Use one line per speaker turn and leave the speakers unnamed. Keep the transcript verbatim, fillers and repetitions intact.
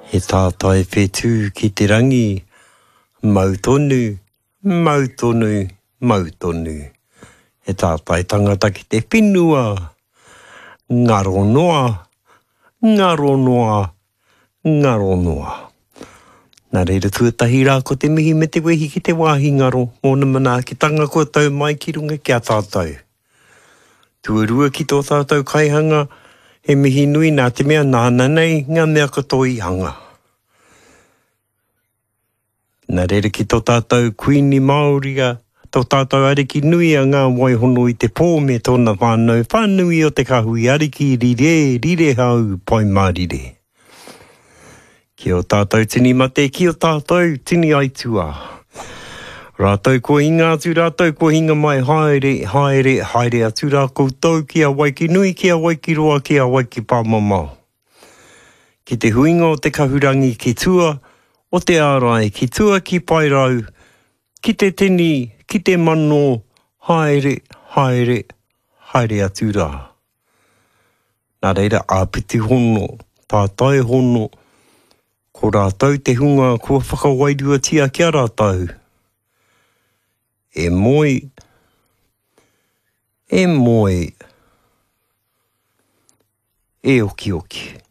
He tātai whetū ki te rangi, mau tonu, mau tonu, mau tonu. He tātai tangata ki te whenua, ngaro noa, ngaro noa, ngaro noa. Nā reira tuatahi rā ko te mihi me te wehi ki te wāhi ngaro, mōna manaakitanga kua tau mai ki runga ki a tātou. Tuarua ki tō tātou kaihanga, he mihi nui nā te mea nāna nei ngā mea katoa i hanga. Nā reira ki tō tātou Kuini Māori a, tō tātou Ariki nui a Ngā Waihono i te pō me tōna whānau whānui o te Kahui Ariki rire, rire hau, pai mārire. Ki o tātou tini mate, ki o tātou tini aituā. Rātou kua hinga atu, rātou kua hinga mai, haere, haere, haere atu rā koutou ki a Waikinui, ki a Waikiroa, ki a Waikipāmamao. Ki te huinga o te kahurangi ki tua, o te ārai, ki tua ki Paerau, ki te tini, ki te mano, haere, haere, haere atu rā. Nā reira, āpiti hono, tātai hono, ko rātou te hunga kua whakawairuatia ki a rātou. E moe, e moe, e okioki.